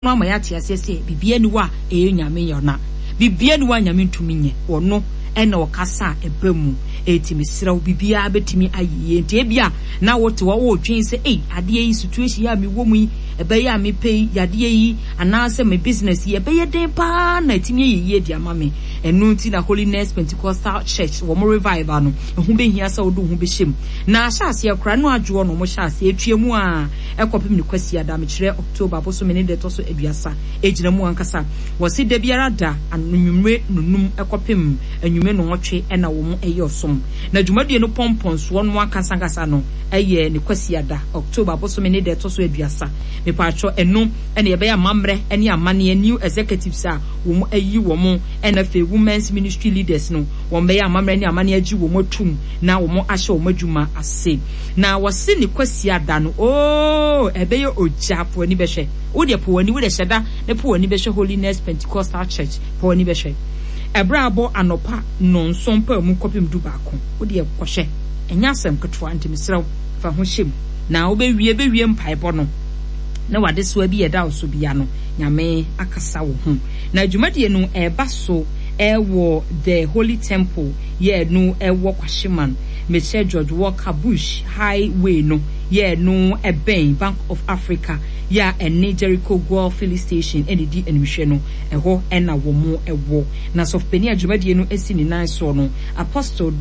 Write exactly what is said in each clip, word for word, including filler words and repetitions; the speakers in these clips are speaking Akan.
No ama yɛate aseɛ sɛ biribiara ni hɔ a ɛyɛ Nyame yɛ na biribiara ni hɔ a Nyame ntumi nyɛ. Ɔno ɛna ɔkasa a ɛba mu. Enti mesrɛ wo, biribiara bɛtumi ayɛ yie. Nti ebia na wote hɔ wotwen sɛ, ei, adeɛ yi, situation yi a mewɔ mu yi, ɛbɛyɛ a mepɛ yi, yadeɛ yi, anaasɛ me business yi, ɛbɛyɛ den paa na ɛtumi ayɛ yie de ama me. Ɛno nti na Holiness Pentecostal Church wɔn revival no, ɛho bɛhia sɛ wode wo ho bɛhyɛ mu. Na ahyɛ aseɛ koraa no, adwoɔ no wɔn hyɛ aseɛ atua mu a ɛkɔpem ne Kwasiada, mekyerɛ October bosome ne deɛ ɛtɔ so aduasa, ɛgyina mu ankasa. Wɔsi da biara da anwummerɛ nonum ɛkɔpem anwummerɛ nɔnwɔtwe ɛna wɔn ɛyɛ ɔsom. Na dwumadie no pɔmpɔnsoɔ no ankasa no ɛyɛ ne Kwasiada, October bosome ne deɛ ɛtɔ so aduasa. Mepatwɔ, ɛno ɛna yɛbɛyɛ amammerɛ ɛne amanneɛ, new executives a wɔn ayi wɔn, ɛna afei women's ministry leaders no, wɔn bɛyɛ amammerɛ ne amanneɛ agye wɔn atum na wɔn ahyɛ wɔn adwuma ase. Na wɔsi ne Kwasiada no ooo, ɛbɛyɛ ogya. Po ani bɛhwɛ wodeɛ, po ani wodeɛ, hyɛ da ne po ani bɛhwɛ Holiness Pentecostal Church. Po ani bɛhwɛ ɛberɛ abɔ anɔpa nnɔnson pa mu kɔpem du baako. Wodeɛ kɔhwɛ, ɛnyɛ asɛm ketewa. Nti mesrɛ fa ho hyɛ mu na wobɛwie bɛwie mpaebɔ no na wadesoa bi ɛda wo so bia no, Nyame akasa wo ho. Na dwumadie no ɛreba so ɛwɔ The Holy Temple yɛ no ɛwɔ Kwahyeman, mekyɛ George Walker Bush Highway no yɛ no ɛbɛn Bank of Africa yɛ a ɛne Jericho Goil Filling Station ɛne di animhwɛ no, ɛhɔ ɛna wɔn ɛwɔ. Na sɔfopanin a dwumadie no asi ne nan soɔ no, Apostle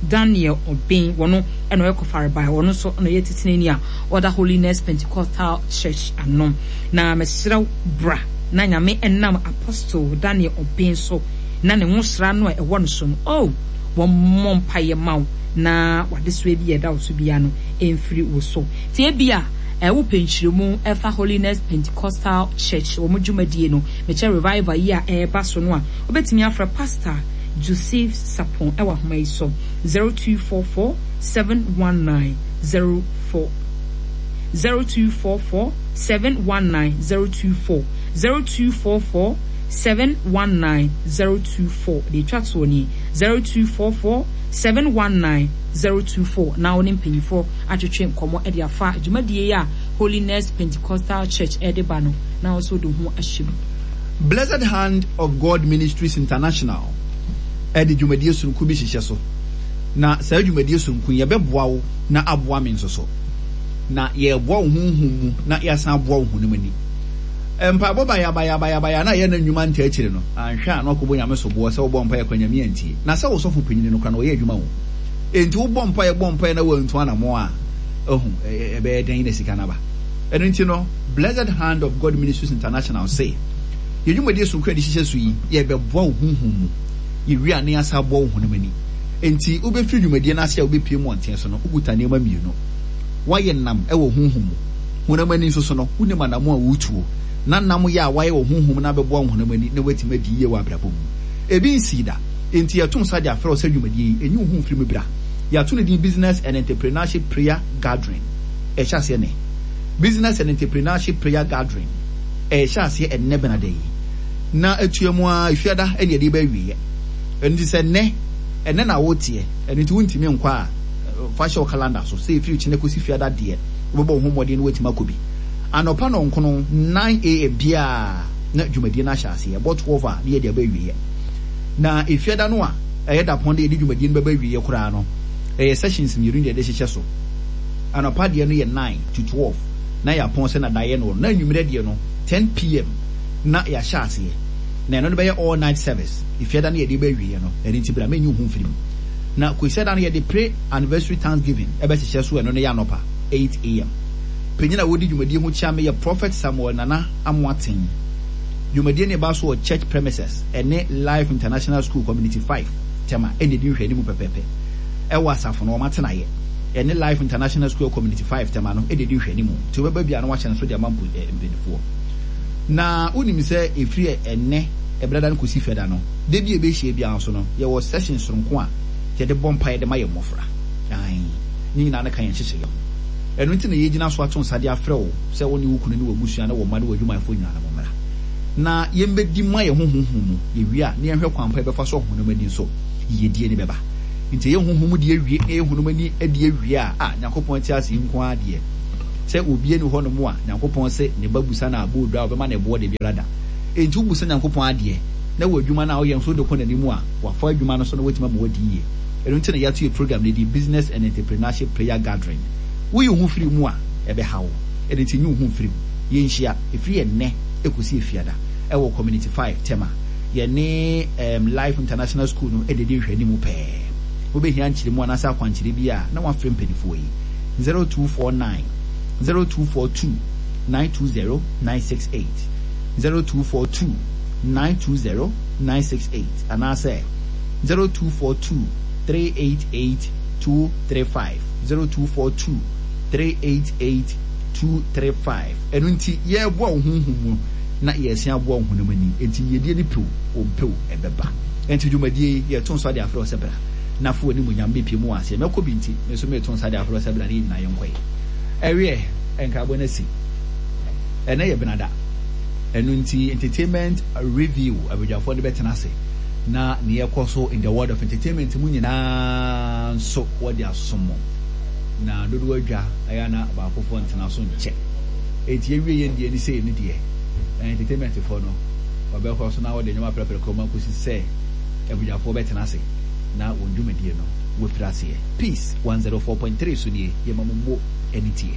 Daniel Ɔben, wɔn ɛna ɔyɛ kɔfarebae, wɔn nso ɛna ɔyɛ titenani a ɔda Holiness Pentecostal Church ano. Na mesrɛ, bra na Nyame ɛnam Apostle Daniel Ɔben so na ne nwosra no a ɛwɔ no so no, oh, wɔn mmɔ mpaeɛ ma wo na wadesoa bi a ɛda wo so bia no ɛmfiri wo so. Tie bi a ɛwɔ pɛnkyerɛmu ɛfa Holiness Pentecostal Church wɔn dwumadie no, mekyɛ revival yi a ɛreba so no a, wobɛtumi afrɛ Pastor Joseph Sapon ɛwɔ ahoma yi so, zero two four four seven one nine zero four, zero two four four seven one nine zero two four, zero two four four seven one nine zero two four. Deɛ etwa toɔ nie, zero two four four seven one nine zero two four. Na wɔne mpanyinfoɔ atwetwe nkɔmɔ de afa dwumadie yi a Holiness Pentecostal Church ɛde ba no, na wɔn nso de ho ahyɛ mu. Blessed Hand of God Ministries International ɛde dwumadie sononko bi hyehyɛ so, na saa dwumadie sononko yi yɛbɛboa wo na aboa me nso so, na yɛreboa wo honhom mu na yɛasan aboa wo honam ani. Mpaebɔ bayabayabayabaya na yɛ na nnwuma nta akyire no, anhwɛ a na wakɔbɔ Nyame soboɔ sɛ wobɔ mpaeɛ kɔ Nyame antie, na sɛ wo sɔfo panyini no kora na ɔyɛ adwuma wo. Enti wobɔ mpaeɛ bɔ mpaeɛ na wantu anammɔ a, ɛhu ɛbɛyɛ dɛn na sika no aba? Ɛno nti no, Blessed Hand of God Ministries International se yɛn dwumadie sononko a yɛde hyehyɛ so yi, yɛbɛboa wo honhom mu, yɛwie a na yɛasa aboa wo honam ani. Enti wobɛfiri dwumadie no ase a wobɛpie mu ɔnten so no, wokuta nneɛma mmienu: woayɛ nam wɔ honhom mu, honam ani nso so no, wonim anamo a wotuo na nam yɛ a woayɛ wɔ honhom no abɛboa wo honam ani na woatumi adi yie wɔ abrabɔ mu. Ebi nsii da. Enti yɛto nsa de afrɛ wo sɛ dwumadie yi, ɛnyi wo ho mfiri mu, bra. Yɛato no din Business and Entrepreneurship Prayer Gathering. Ɛhyɛ aseɛ nɛ. Business and Entrepreneurship Prayer Gathering ɛhyɛ aseɛ ɛnnɛ Benada yi na atua mu a Efiada ɛne yɛde bɛ awieɛ. Ɛno nti sɛ nnɛ ɛnɛ na woteɛ, ɛno nti wontumi nkɔ a, fa hyɛ wo calendar so sɛ ɛfiri kyena kɔsi Fiada deɛ, wobɛbɔ wo ho mmɔden na woatumi akɔ bi. Anɔpa nɔnkono nine a m biaa na dwumadie no ahyɛ aseɛ. Ɛbɔ twelve a na yɛde aba awieɛ. Na Efiada no a ɛyɛ dapɔn de yɛde dwumadie no bɛba awieɛ koraa no, ɛyɛ sessions mmienu na yɛde hyehyɛ so. Anɔpa deɛ no yɛ nine to twelve na yɛapɔn sɛ nadaeɛ no na anwummerɛ deɛ no ten p m na yɛahyɛ aseɛ, na ɛno no bɛyɛ all night service. Efiada no yɛde bɛ awieɛ no. Ɛno nti bra, mɛnyi wo ho mfiri mu. Na Kwasiada no yɛde pre anniversary thanksgiving ɛbɛhyehyɛ so. Ɛno no yɛ anɔpa eight a m. Panyin a wɔdi dwumadie ho kyia me yɛ Prophet Samuel Nana Amoaten. Dwumadie no ɛba so wɔ church premises ɛne Life International School, Community five, Tema, ɛna ɛdi nhwɛ anim pɛpɛɛpɛ. Ɛwɔ asafo no wɔn atenaeɛ ɛne Life International School, Community five, Tema no ɛna ɛdi nhwɛ anim. Nti wobɛba bia na wahyɛ no so de ama mpo mpanimfoɔ. Na wonim sɛ ɛfiri ɛnɛ ɛbrɛda no kɔsi Fiada no da bi a ɛbɛhyia biara nso no, yɛwɔ session soronko a yɛde bɔ mpa yɛde ma yɛ mmɔfra. Ne nyinaa no ka yɛn hyehyɛeɛ ho. Ɛno nti na yɛgyina so ato nsa de afrɛ wo sɛ wo ne wo kunu ne w'abusua ne wo mma ne w'adwumayɛfoɔ nyinaa no mommra na yɛmbɛdi ma yɛn ho honhom mu. Yɛwie a na yɛnhwɛ kwan pa yɛbɛfa so ɔhonam ani nso yiyedie ne bɛba. Nti ɛyɛ honhom mu deɛ awie na ɛyɛ honam ani adi awie a, a Nyankopɔn te ase yi nko ara deɛ. Sɛ obi ani hɔ nom a, Nyankopɔn sɛ ne ba busa no aboodo a, ɔbɛma no ɛboɔ da biara da. Enti wobusa Nyankopɔn adeɛ na wɔ adwuma no a woyɛ nso wode kɔ n'anim a, wafa adwuma no so na watumi ama wadi yie. Ɛno nti na yɛato yɛ program no din Business and Entrepreneurship Prayer Gathering. Woyi wo ho firi mu a, ɛbɛha wo. Ɛno nti nyi wo ho mfiri mu. Yɛnhyia, ɛfiri ɛnnɛ ɛkɔsi Efiada ɛwɔ Community five, Tema. Yɛne um, Life International School no ɛde di nhwɛanimu pɛɛ. Wobɛhia nkyerɛmu anaasɛ akwankyerɛ bi a, na wafrɛ mpanimfoɔ yi zero two four nine zero two four two nine two zero nine six eight, zero two four two nine two zero nine six eight anaasɛ zero two four two three eight eight two three five, zero two four two three eight eight two three five. Ɛno nti yɛreboa wo honhom mu na yɛsan aboa wo honam ani. Enti yiedie no pew ɔmpew ɛbɛba. Enti dwumadie yi, yɛto nsa de afrɛ wo sɛ bra na fo w'animuonyam bɛpie mu wɔ aseɛ. Mɛkɔ bi nti me nso meto nsa de afrɛ wo sɛ bra na yɛn nyinaa yɛnkɔe. Ɛweɛ nkrabɔ no asi. Ɛnɛ yɛ Benada, ɛno nti entertainment review, abadwafoɔ no bɛtena ase na neɛ ɛkɔ so in the world of entertainment mu nyinaa nso wɔde asom mo. Na dodoɔ adwa ɛyɛ na baakofoɔ ntena so nkyɛ. Enti yɛwie yɛn deɛ ne sei no deɛ, entertainment foɔ no wɔbɛkɔ so na wɔde nneɛma prɛprɛ kɔma kɔsi sɛ abadwafoɔ bɛtena ase na wɔn dwumadie no wɔfiri aseɛ. Peace one zero four point three so nie, yɛma mo mo ani tie.